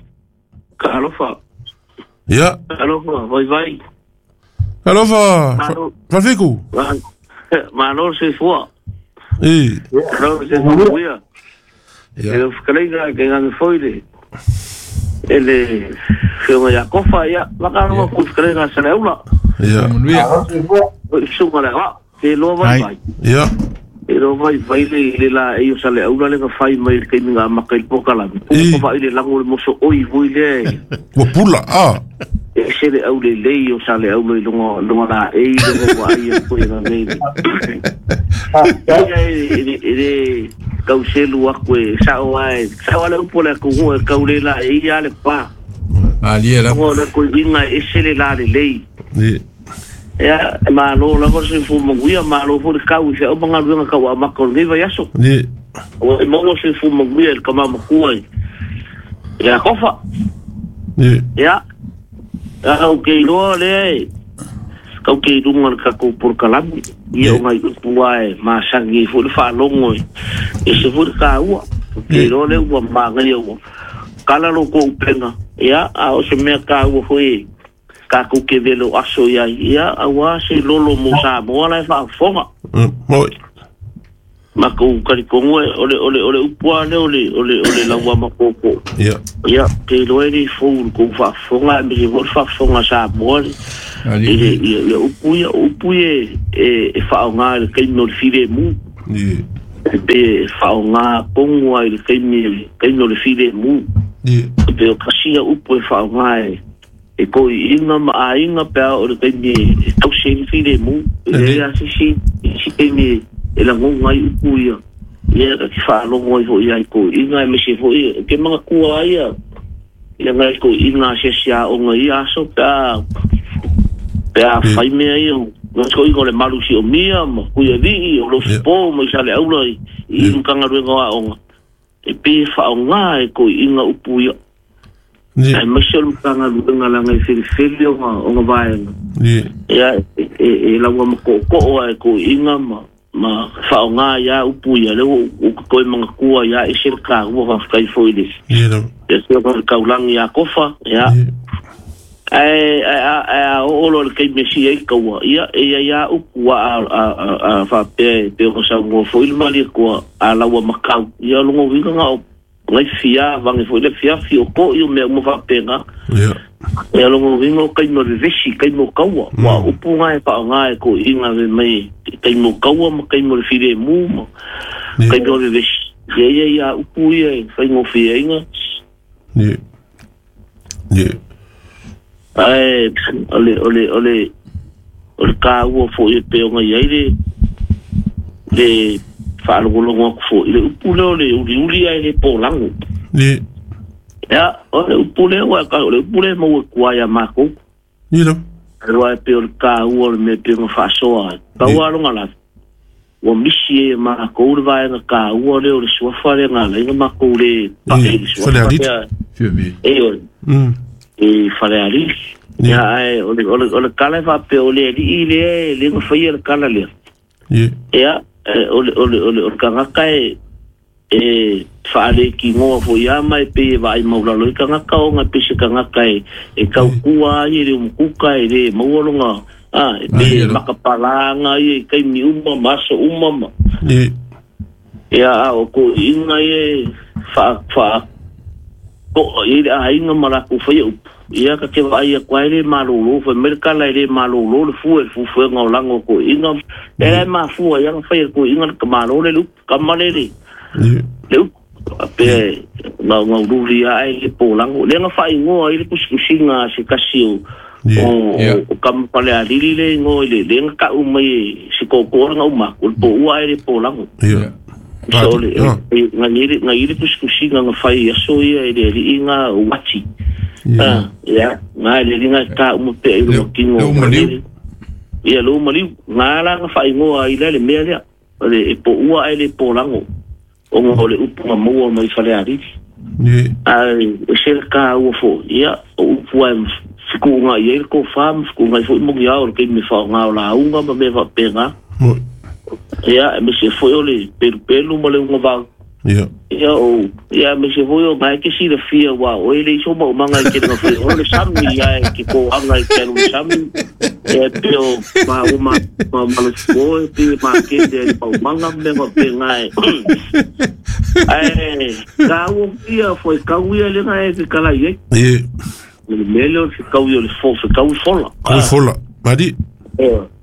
Kalofa ia Kalofa vai vai Kalofa Falfiku Malo soifua I Malo soifua ia e le fetalaiga ke gage foi le e le fioga ia kofa ia makalofa ku fetalaiga sa le aula ia suga le a'a te loa vai vai ia e loa vai vai le le la e o sa le aula le fai mai le kaimi nga maka i le pokalame o vai le lago le moso oi foi le ua pula a e se le au le lei o sa le aula i lunga lunga la e i lunga wa ai ko i ngei ia e e le kau selu aku e sao ai sao le upo le ku e kau le la e ia le pa ali la o le ko inga e se le la le lei ni ia malo la ko se fu monguia malo fu le kau se o manga luenga kau a mako le vai aso ni o e mongo se fu monguia el kama makua ia kofa ni ia au ke iloa lea e kau ke ilunga le kakou polokalame ia o ngai upu ae masagi ai foi le faalogo e ese foi le kāua ke iloa lea ua magaia ua kala lo kou upega ia a o se mea kāua foi e kakou ke vele o aso iai ia auā se lolo mo Samoa la e faafofoga moi Makou kalikongo ole ole ole upua le ole ole ole laua makoko. Ia. Ia ke loe ni fou ko fa fonga me se fa fonga sa mo le ia ia upu ia upu e e faonga le kaimi o le file mu. Ia. E pe faonga kongo ai le kaimi kaimi o le file mu. Ia. E pe o kasia upu e faonga e e ko inga ma ainga pe o le kaimi e tausi le file mu. E a sisi si kaimi e la ngonga i upu ia ia ka ki whaalongo i hoi ai ko inga e mese hoi ke mga kua ia ia ngai ko inga se sia o ngai aso pa pa fai mea ia ngai ko inga le malusi o mia ma kuia vii o lo po ma isa le aula i i mkanga ruenga wa onga e pe whaonga e ko inga upu ia e mese o mkanga ruenga la ngai whiriwhiri o nga vaenga ia e laua makoko e ko inga ma ma whaonga ia upu ia leo o koe mga kua ia e sel ka ua whawhai foi le. Ia no. Ia se o kaulangi ia kofa ia. Ai ai ai o lo le kai mesi ai kaua ia ia ia upu a a a whapea pe o sa ngo foi le mali kua a laua makau ia longo winga nga o ngai fia vangi foi le fia fi o ko i o mea uma whapenga. Ia. Ia longo winga o kai mo vesi kai mo kaua wa upu ngai whaonga e ko inga me mai kai mo kaua ma kai mo le file mu ma kai mo le vesi ia ia ia upu ia e whai ngo fia inga. Ia. Ia. Ai ole ole ole ole ka ua fo i pe onga ia le le whaalongolongo aku fo i le upu leo le uli uli ai le pōlango. Ia. Ia, o le upu leo, o le upu leo maua kua ia mākou. Ia no. Rua e pe o le ka ua le mea pe o whaasoa. Pau alonga la. Ua misi e mākou le vaenga ka ua leo le suafa le ngā leinga mākou le pae le suafa. Whale E o e whale aliti. Ia ai, o le kala e whape o le alii le e le nga whaia le kala lea. Ia, o le o le o le kangaka e e whaale ki ngoa fo ia mai pe e vai maulalo i kangaka o ngai pese kangaka e e kaukua ai e le umukuka e le maualonga ah, e pe e makapalanga i e kaimi uma maso uma ma. Ia a o ko inga e wha wha ko i le ainga maraku whai upu. Ia ka te vai a kwa e le malolo whai merkala e le malolo le fua e fufu e ngau lango ko inga e le mafua ia nga whai ko inga ka malolo le upu kamale le le upu pe ngau ngau ruri ai le pōlango le nga whai ngoa i le kusikusinga se kasi o o kampale a lili le ngoa i le le nga kau mai se kōkō nga umaku le pō ua ai le pōlango. So le nga i le kusikusinga nga whai aso ia i le li inga wati. Ah, ia nga le linga ka umu pe i le kingo. Ia lo maliu nga la nga whai ngoa i le le mea lea le e pō ua ai le pōlango. O ngā le upu ngā maua mai whale ariri. Ai, e sera ka ua fo, ia, o upu ai fiku ngā i eile ko wham, fiku ngā i fo i mongi ao, le kei me whao ngā o la unga ma me whapenga. Ia, e me se foi o le pelu pelu ma le unga vau. Ia. Ia, o, ia, me se foi o ngai ke sila fia wa, o ele iso ma o manga i ke nga fia, o le sami ia e ke ko anga i ke alu sami, e pe o ma o ma ma ma le fo e pe ma ke de pa o manga me nga pe ngai. Ai, ka o ia foi ka o ia le ngai ke kala i. Ia. Le mele o se ka o le fo, se ka o fola. Ka o fola. Mari.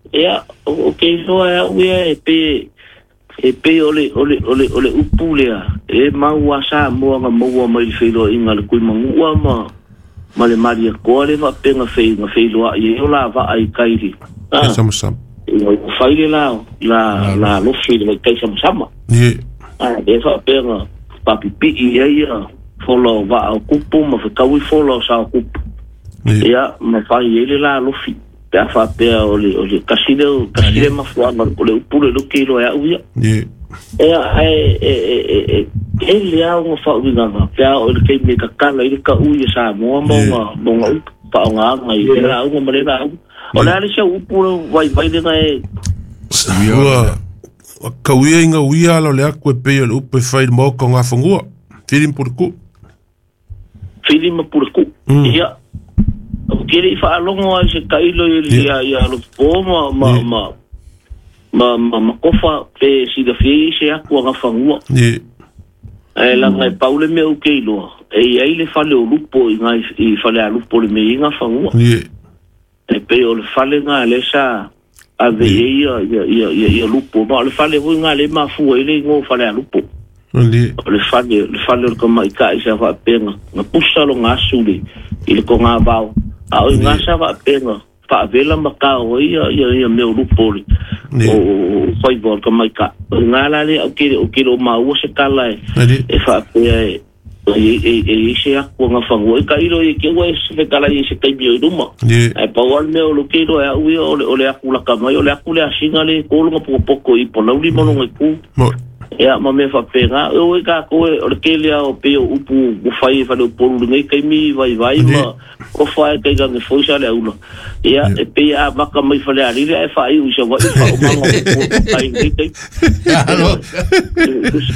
Ia, o ke so a o ia e pe e pe ole ole ole ole upu lea e maua sa moa nga maua mai le whailoa inga le kui mangua ma ma le maria koa le whapenga whai nga whailoa i e o la waa i kairi. E sama sama. E whai le la la la lofi le kai sama sama. Ie. E whapenga papipii e ia fola o waa o kupu ma whakaui fola o sa o kupu. Ia ma whai e le la lofi. Pe a whapea o le, o le kasile, kasile mafuanga, o le upu le luke ilo e au ia. Ie. Ea, e, e, e, e, e le au ngā whauinganga, pe a o le kei me kakala i le ka ui e sa moa mo ngā, mo ngā upu, whaonga anga i le la unga ma le la unga. O le ale sia upu le vai vai le nga e. Ua, kauia inga uia ala o le aku e pei o le upu e whai le maoka o ngā whangua. Whirim pure ku. Whirim pure ku. Ia. O kere i whaalongo ai se kailo i ia ia lo po ma ma ma Ma ma ma kofa pe silafia i se aku agafaga. Ae laga e pau le mea ou ke iloa e iai le fale o lupo i gai i fale a lupo le mea i gafaga. E pei o le fale ga le sa ave ai ia ia ia ia lupo ma o le fale foi ga le mafua i le igoa fale a lupo. O le fale le fale o le tamaita'i sa faapega na pusa loga asu le i le kogavao a o i ga sa faapega faavela ma kao ai ia ia ia mea o lupo le o faiva o le tamaita'i o i ga la lea ou ke o ke lo maua se tala e e faapea e e e e se aku agafaga e tailo i ke ua e se fetala i se taimi o i luma ae pau a le mea o lo ke iloa e a'u ia o le o le aku laka mai o le aku le asiga le kologa pokopoko i polauli ma loga i ku ia ma mea faapega o e takou e o le tele a o pei o upu ua fai e faleupolu lenei taimi vaivai ma ofa e taigage foi sa le aula ia e pei a maka mai falealili ae faaiu i savaʻi faaumaga ai lenei taimi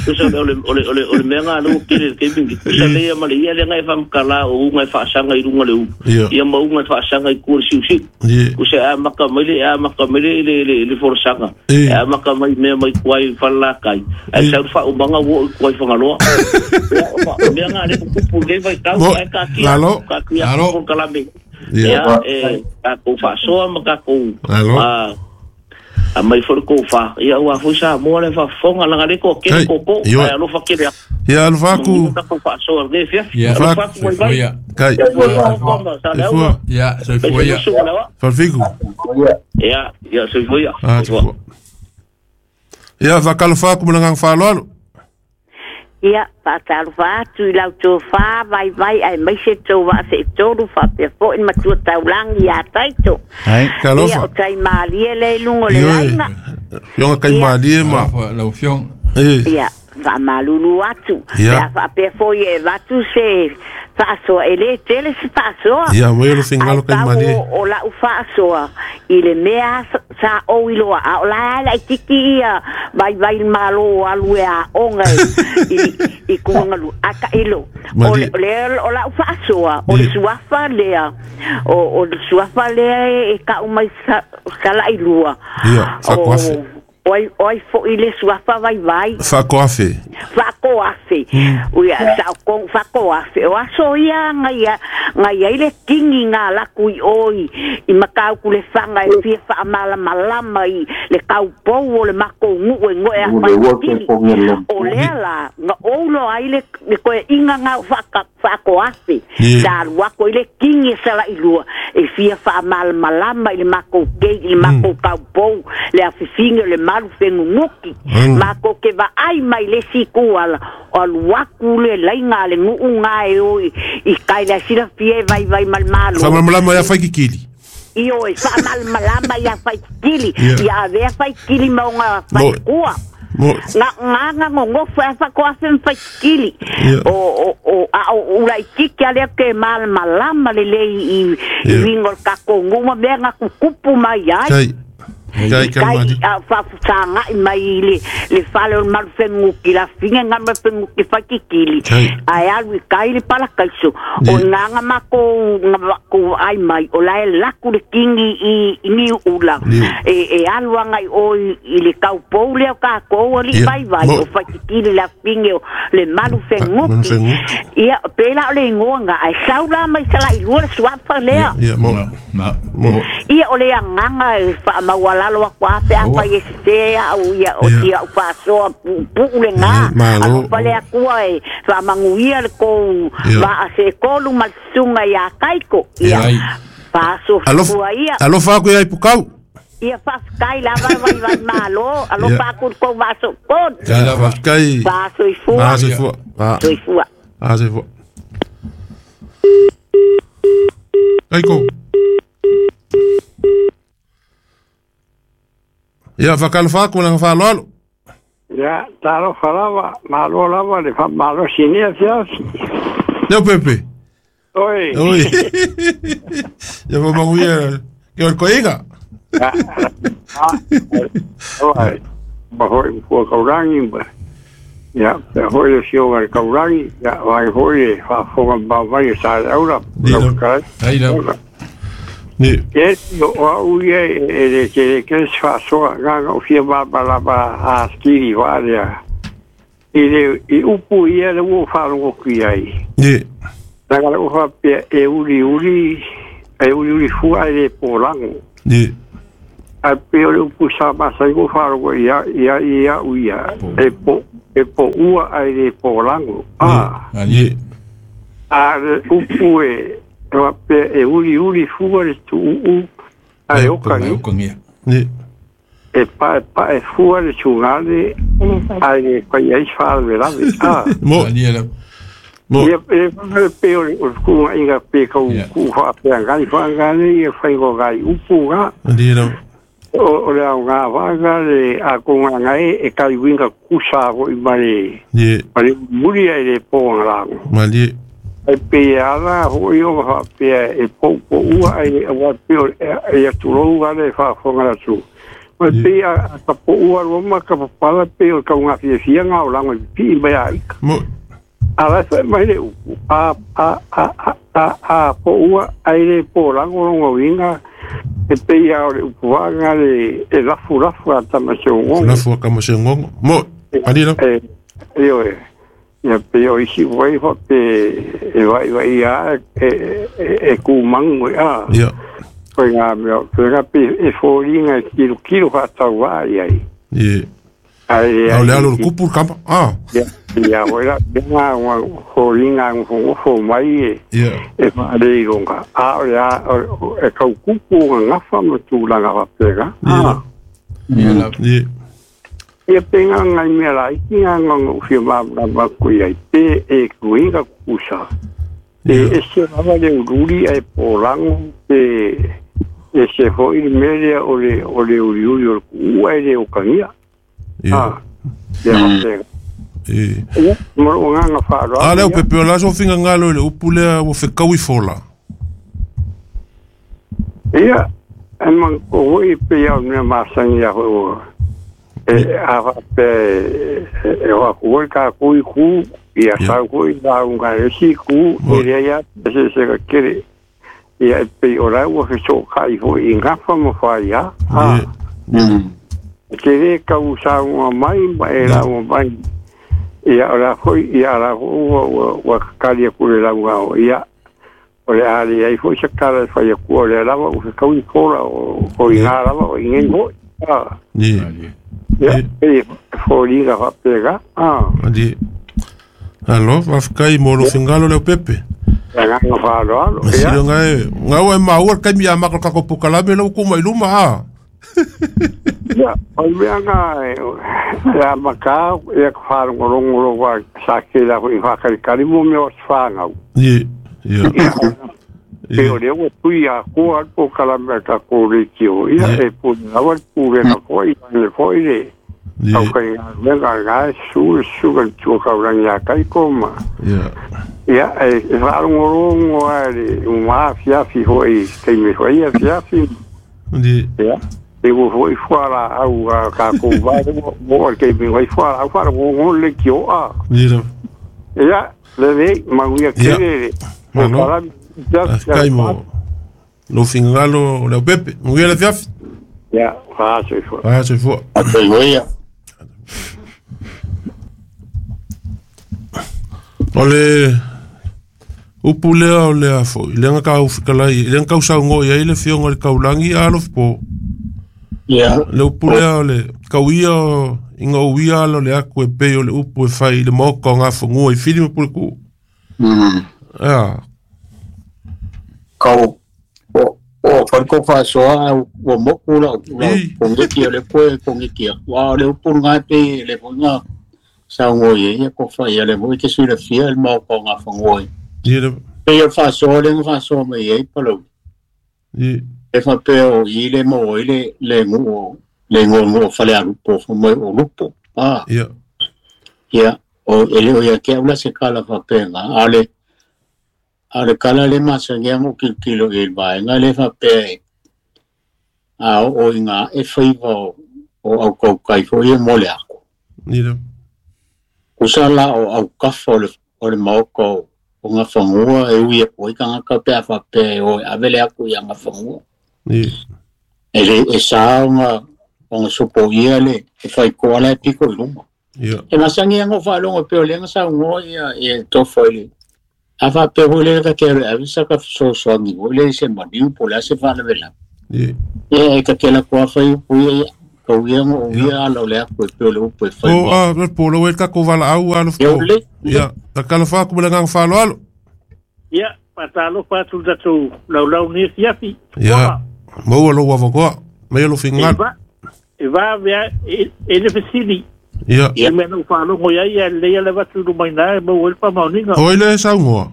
tusa o le o le o le o le mea ga le ua tele le taimi tusa leia ma le ia lega e faamatala o uga e faasaga i luga le ulu ia ma uga e faasaga i tua le siusiu tusa e amaka mai le e amaka mai le le le le folasaga e amaka mai mea mai tuai falelakai ae sau le faaumaga ua oo i tuai fagaloa ia mea ga le kukupu i lenei vaitau ae taatia taatia polokalame ia e tatou faasoa ma tatou a mai foi le tofa ia ua foi Samoa le faafofoga laga le toatele koko ae alofa tele atu ia alofa atu tatou faasoa lenei afiafi alofa atu vaivai kai ia soifua ia falfiku ia ia soifua ia ia faakalofa atu ma le agaga faaaloalo. Ia faatalofa atu i lau tofā vaivai ae maise tou vaaseʻitolu faapea foʻi le matua taulagi iā Taito. Ia o taimalie lea i luga o le laina. Fioga taimalie ma lau afioga. Ia faamalulu atu pe a faapea foi e avatu se faasoa e lē tele se faasoa ia mai o le fingalo taimalie o la'u faasoa i le mea sa ou iloa a o lae laʻititi ia vaivai le mālō alu e aʻoga i i kuagalu a taʻilo o le o la'u faasoa o le suafa lea o o le suafa lea e ka'u mai salaʻilua ia faakoafe oi oi foʻi le suafa vaivai faakoafe faakoafe uia sa o faakoafe o aso ia gaia gaia i le kingi ga laku i oi i matauku le faga e fia faamalamalama i le kaupou o le makou guʻu e goe afaikili o lea la ga oulo ai le le koeʻiga ga faaka faakoafe sa alu aku i le kingi e salaʻilua e fia faamalamalama i le makou kei i le makou kaupou le afifigi o le malu feguguki makou ke vaai mai le isi kuala o alu aku le laiga a le guʻu ga e o i kai le silafia e vaivai ma le malo faamalamalama ia faikikili ioe faamalamalama ia faikikili ia avea faikikili ma oga faikua nga nga nga ngogofo e faakoafe ma faikikili o o o a o ulaʻitiki a lea ke malamalama lelei i i uiga o le takou guʻu ma mea ga kukupu mai ai kai kai a faafusagaʻi mai i le le fale o le malufeguguki lafiga ga malufeguguki faikikili ae alu i kai le palakaiso o igaga makou ga makou vaai mai o lae laku le kingi i i niuʻula e e alu agaʻi oi i le kaupou lea o kakou aliʻi vaivai o faikikili lafige o le malufeguguki ia pela o le igoa ga ae sau la mai salaʻilua le suafa lea ia o le agaga e faamauala lalo aku ape apa i se au ia o tia o faasoa puupuu legā alofa le akua e faamaguia le kou vaasekolu ma le susuga iā Taiko ia faasofua ia alofa aku ia i pukau ia faafetai lava vaivai mālō alofa aku le kou vaasookolu faafetai faasoifua soifua soifua Taiko. Ia faakalofa atu ma le agaga faaaloalo. Ia talofa lava malo lava le faamalosi nei afiafi. Leo Pepe. Oi. Oi. Ia faamaguia ke o le koiga. Oi. Ma foi ua kaulagi ma ia pe foi le fioga le kaulagi ia vai foi le faafofoga mavai e sa le aula. Ai la. Ni. E o au ia e le ke ke sfasoa nganga o fia malamalama atili valea. I le i upu ia le ua faalogo ki ai. Ni. Laga le ua faapea e uliuli e uliuli fua ai le polago. Ni. Ae pei o le upu sa masani ua faalogo ia ia ia uia e po e poua ai le polago. Ah. Ni. A le upu e faapea e uliuli fua le tuuu ae okagia. Ni. E pae pae fua le tugale ae le fai ai se faalavelave. Ah. Mo. Mo. Ia e le pei o le kuugaʻiga pe kau kuu faafeagai faagale ia faigogai upu ga. Ni la. O o le aoga vaga le a kogagae e kaiuiga kusa foʻi ma le Ni. ma le muli ai le pogalago. Malie. Ai pe ala foʻi o faapea e poupoua ai aua pe o e atulou gale faafofoga le atunuu. Ma pe a ka poua loa ma ka papala pe o le kaugafiafia o lago i pipii mai aika. Mo. A la faʻi mai le upu a a a a a poua ai le polago loga uiga e pei a o le upu vaga le e lafulafu a tamaseogogo. Lafu a tamaseogogo. Mo. Malie la. E ioe. Ia pe o isi uai faapea e vaivai a e e e kumagu e a. Ia. Koe mea koe pe e foliga e kilokilo faatauvaa i ai. Ni. Ai A o le alo o le kupu le kama. Ah. Ia ia oi la nga foliga gofogofo mai e Ia. e faaleiloga a o le a e kaukupu gagafa ma tulaga faapega. Ah. Ni. Ni. Ia pe gagai mea laiti gaga ou fia malamalama aku i ai pe e kuiga kukusa. E ese lava le ululi ae polago pe ese foʻi le mea lea o le o le uliuli o le kuua e le okagia. Ia. Ah. Ia faapega. E. Ia ma lou agaga faaaloalo. A lea o pepe o la so fingagalo i le upu lea ua fekaui fola. Ia e ma o foʻi pei a o le mea masani ia foʻi ua e a faapea e o aku oi kākou i ku ia sau foʻi lauga e isi ku e leai a esesega kele ia e pei o la ua fesookaʻi foʻi i gafa ma faia. Ah. E te lē kau sauga mai ma e lauga mai ia o la foʻi ia la foʻi ua ua ua kakali aku le lauga o ia o le a leai foʻi se kala e fai aku o lea lava ua fekaui fola o o igā lava o igei foʻi. Ah. Ni. Ia e foliga faapega. Ah. Malie. Alo, faafetai mo lou fingalo leo pepe. Agaga faaaloalo. Ma Ia. siloga e gau e maua le kaimi a mako le kako pukalame lau ku mai luma a. Ia o le mea ga e a makā ia ka faalogologo lova sa kela foʻi faakalikali mo mea o se fagau. Ni. Ia. Pe o lea ua tui akoa le polokalame a takou leitio ia e pule lava le pulega foʻi le foʻi le Ni. taukaigaluega ga e su suga le tuakaulagi ia kaiko ma. Ia. Ia e e faalogologo a le uma afiafi foʻi taimi foʻi afiafi. Ni. Ia e ua foʻi fualaau a kakou vale ua oo le taimi ai fualaau faalogologo le leitio a. Ni la. Ia lelei manuia Ia. tele le Malo. polokalame. Faafetai mo lou fingalo o leo pepe. Manuia le afiafi. Ia faasoifua. Faasoifua. Atoivoia. O le upu lea o lea foʻi lega kaufikalai lega kausaugo i ai le fioga o le kaulagi alofi po. Ia. Le upu lea o le kauia o iga ouia ala o le aku e pei o le upu e fai i le maoka o gafagua i fili ma pulekuu. Mm. Ea. Kau o o farko faasoa ua moku lau lau pogiki o le koe pogiki wa o le upu lagā pei le foʻiga saugo i ai ia ko faia le foʻi te silafia le maoka o gafagua ai. Ni le. Pei o le faasoa lea na faasoa mai ai Palauli. Ni. E faapea o i le maua ai le le guu le gogo o falealupo fai mai o lupo. Ah. Ia. Ia o e le o ia ke au la se kala faapega a le a le kala le masani a mo kilokilo i le vaega le faapea e a oo i ngā e faiva o o aukaukai foʻi ia mo le ako. Ni le. Kusa la o aukafa o le o le maoka o o ngawhangua e ui e poi kangaka pe a whape o avele aku i a ngawhangua. E le e sa o ngā o ngā sopo ia le e whai koala e piko i luma. E masangi ango whalongo pe o lenga sa ungo ia e tofo i le. A whape hoi le ka kere avisa ka sosoangi hoi le se maniu po le ase whanawela. Ia e ka kela kua whai upu ia ka uia ngo uia ala o le aku e pe o le upu e whai. O a le polo e kako wala au alo fo. Ia, ta kala whaku mele ngang whalo alo. Ia, patalo whatu tatu lau lau ni siafi. Ia, maua lo wawakoa, mai alo fingal. E va vea e le fesili. Ia. E mea nau whalongo ia ia leia le watu rumaina e mau elpa mauninga. O ile saungoa?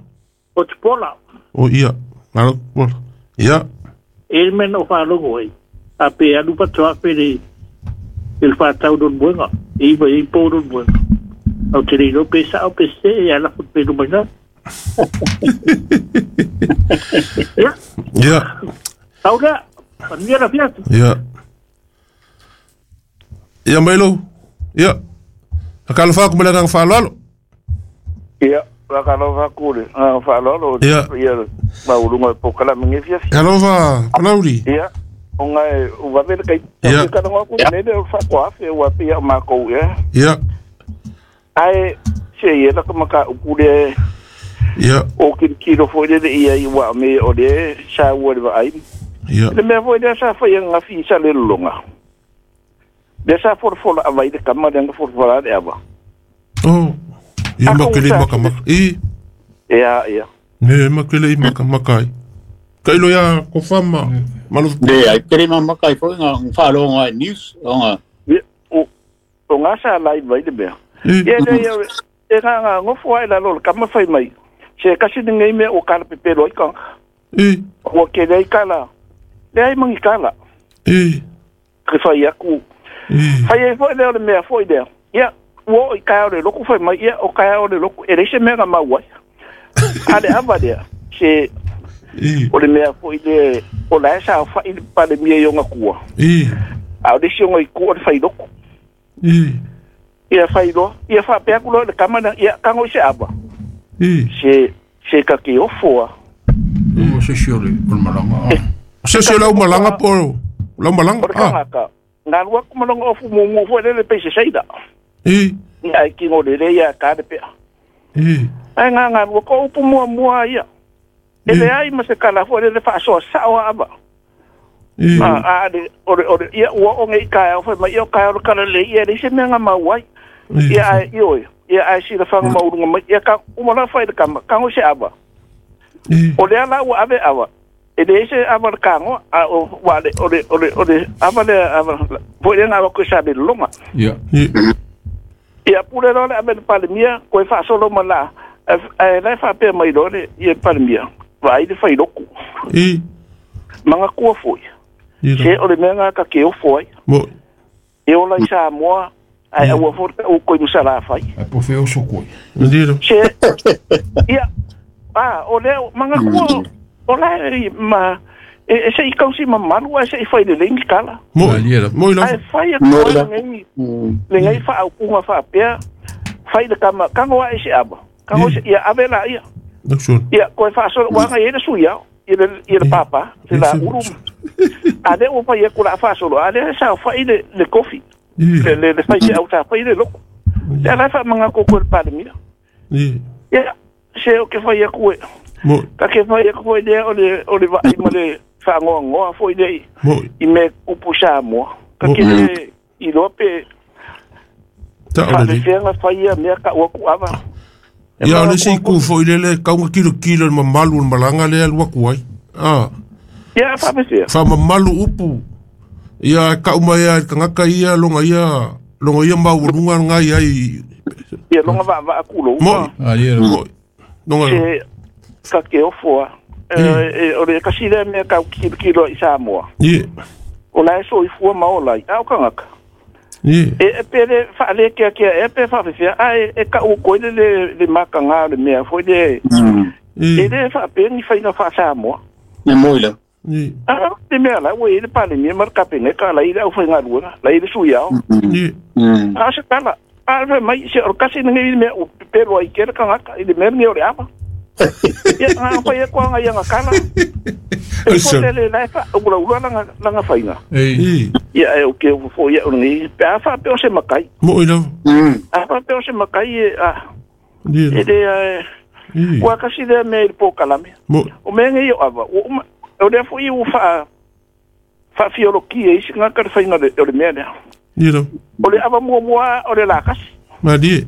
O te pola. O ia, ngalo pola. Ia. E mea nau whalongo e. A pe anu patua pe le el whatau don buenga. E iwa e pō don buenga. Au te reiro pe sao pe se e ala fut pe rumaina. Ia. Ia. Tau lea, panuia la fiatu. Ia. Ia mailo. Ia. Akalo ku mele ngang whaloalo. Ia, akalo whaku le ngang whaloalo. Ia. Ia, maulunga e pokala mingi fiafi. Alofa, palauri. Ia, o ngai uwawele kai. Ia. Ka nonga ku nele o whako afe o ape ia mākou ia. Ia. Ai, se ia laka maka upule. Ia. O kirikiro foi le ia i wa me o le sa ua le vaai. Ia. Le mea foi le sa whai nga fi sa le longa. Le sa forofola a vai le kama le nga forofola le ava. Oh, ia makele maka maka. I. Ia, ia. Ne makele i maka maka. Ka ilo ia ko fama. Malo. Ne, ai kere maka i foi nga whalonga news o nga. O o nga sa lai vai le mea. Ia le ia e nga nga ngofo ai la lo kama fai mai. Se kasi ngai mea o kala pepelo ai ka. I. O ke le kala. Le ai mangi kala. I. Ke fai aku. Fai e foi leo le mea foi leo. Ia, ua o i kai o le loku fai mai, ia o kai o le loku, e reise mea nga mau ai. A le awa lea, se o le mea foi le, o la e sa o fai le pale mea i o ngā kua. A o le si o ngā i kua o le fai loku. Ia fai loa, ia whapea ku loa le kamana, ia kango i se awa. Se, se ka ke ofoa. O se si o le malanga. Se si o le malanga po, lau malanga. O le kangaka. Ngā lua kumalonga ofu mungu fo lele pe se seida. I. Ia ai kingo lele ia ka le pea. I. Ai ngā ngā lua ko upu mua mua ia. E le ai ma se kala fo lele whaasoa sao ava. I. A, a le, ore, ore, ia ua o ngei kai au ma ia o kai o kala le ia le se mea ngā mau ai. Ia ai ioi, ia ai sila whanga maurunga mai, ia ka umala whai le kama, kango se ava. I. O lea la ua ave ava. E le ese ava le kango, a o wa le, o le, o le, o le, ava le, ava, po le ngā wako sa le longa. Ia. Ia pule loa le ave le palemia, koe whaasolo ma la, e lai whapea mai loa le, ia palemia, vai le whai loku. I. Manga kua foi. Se o le mea ngā ka ke ofo ai. Mo. E ola i Samoa, ai aua fo o koi musala whai. Ai po wheo so koi. Ndiro. Se, ia, a, o le, manga kua, o la e ma e e se i kausi mamalu e se i whai le lengi kala. Mo, mo i Ai whai a koe le ngai, le ngai wha au punga wha pea, whai le kama, kango a e se aba. Kango se, ia ave la ia. Ia, koe wha solo, wanga i e le sui au, i le, i le papa, se la uru. A le o whai e kula wha solo, a le sa whai le, le kofi. Le, le, le whai se au ta whai le loko. Le ala wha manga koko le palemia. Ia, se o ke whai a koe. Mo. Ka ke whai a koe lea o le, o le vai ma le whangoa ngoa foi lea i me upu Samoa. Ka ke le i loa pe whaafewhenga whai a mea ka ua ku awa. Ia o le si ku foi lele kaunga kilo kilo le mamalu le malanga lea lua kuai. Ah. Ia whaafewhea. Wha mamalu upu. Ia ka umaya kangaka ia longa ia longa ia maulunga ngai ai. Ia longa va va akulo. Mo. Ah ia. Mo. Longa. Se ka ke ofoa. E o le kasi le mea kau kilo kilo i Samoa. Ie. O la e so i fua ma o lai. Au kangaka. Ie. E e pere whaale kia kia e pe whaafewhea. A e e ka uko le le le makanga le mea foi le. E le whaape ni whainga wha Samoa. Ne moila. Ie. A te mea la ua i le pale mea mar kapene ka lai le au whainga ruanga. Lai le sui au. Ie. A se tala. A mai se o kasi ngai mea o pepero ai kera kangaka i le mea nge o le apa. Ia nga fai e kwa nga ia nga kala. E fo le le la fa ula ula langa langa fainga. Ei. Ia e o ke o fo ia o ngi pe a fa pe o se makai. Mo i lava. A fa pe o se makai e a Ia. e le e ua kasi le me i po kalame. Mo. O me ngi o ava o uma o le fo i o fa fa fiolokia isi nga ka le fainga le o le mea lea. Ia lava. O le ava mua mua o le lakasi. Malie.